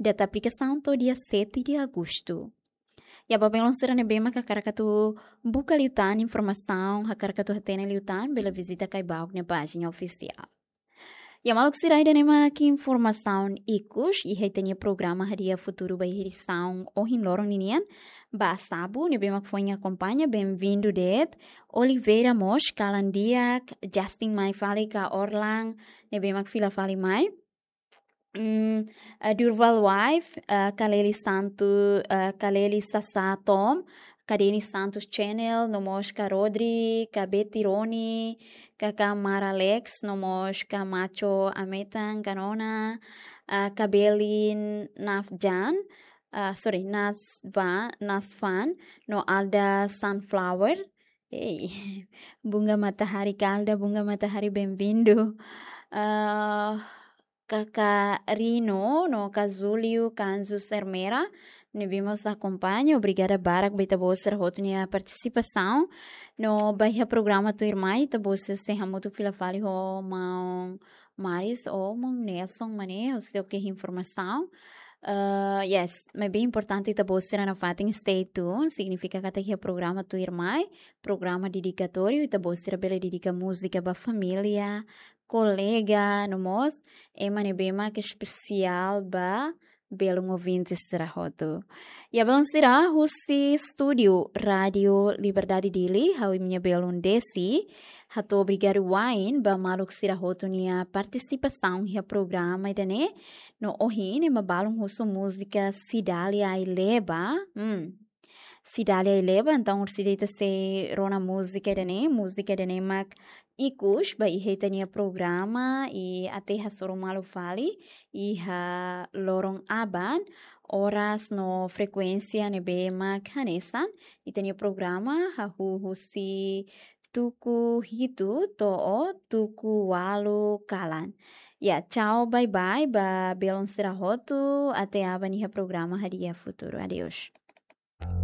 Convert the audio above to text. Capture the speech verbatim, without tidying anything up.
data aplikasaun to'o dia sete de agosto. Ya, ba belun sira ne'ebé mak hakarak atu buka liután informasaun, hakarak atu hatene liután, bele vizita Caibaok nia pájina ofisiál. Ya, maluk sira, ida-ne'e mak informasaun ikus iha ita-nia programa Hadi'a Futuru ba edisaun ohin loron ninian. Ba Sabu ne'ebé mak foin akompaña, bem-vindo de'it. Oliveira mós kalan di'ak, Justin mai fali ka Orlan ne'ebé mak fila fali mai. Mm, eh, Durval Wife, eh, Kaleli Santu, eh, Kaleli Sasa Tom, Kadeni Santos Channel, no mós ka Rodri, ka Betty Roni, ka ka Mara Alex, no mós ka Macho Ametan, ka Nona, eh, ka Belin Nafjan, eh, sorry, Nasva, Nasfan, no Alda Sunflower. Ei, Bunga Matahari, ka Alda Bunga Matahari, bem-vindo. Ah, ka ka Rino, no ka Julio, ka Anzu Sermera, ne'ebé mós akompaña, obrigada barak ba ita-boot sira hotu nia partisipasaun. No ba iha programa tuirmai, ita-boot sira sei hamutuk fila fali ho maun Maris ou maun Nelson, maun ne'e, husi oke informasaun. Ah, yes, maibé importante ita-boot sira nafatin stay tuned, signifika katak iha programa tuirmai, programa dedikatóriu, ita-boot sira bele dedika múzika ba família, kolega, no mós ema ne'ebé mak espesiál ba belun ouvinte sira hotu. Ya, belun sira, husi estúdiu Rádio Liberdade Dili, ha'u imi-nia belun Desi, hato'o obrigadu wa'in ba maluk sira hotu nia partisipasaun iha programa ida-ne'e. No ohin ne'e mak balun husu múzika Cidália Aileba. Hmm. Cidália Aileba, entaun orsida ita sei rona múzika ida-ne'e, múzika ida-ne'e mak ikus ba iha ita-nia programa, i até hasoru malu fali iha loron aban, oras no frekuénsia ne'ebé mak hanesan. Ita-nia programa hahú husi tuku hitu to'o tuku ualu kalan. Ya, tchau, bye bye ba belun sira hotu, até aban iha programa Hadi'a Futuru. Adeus.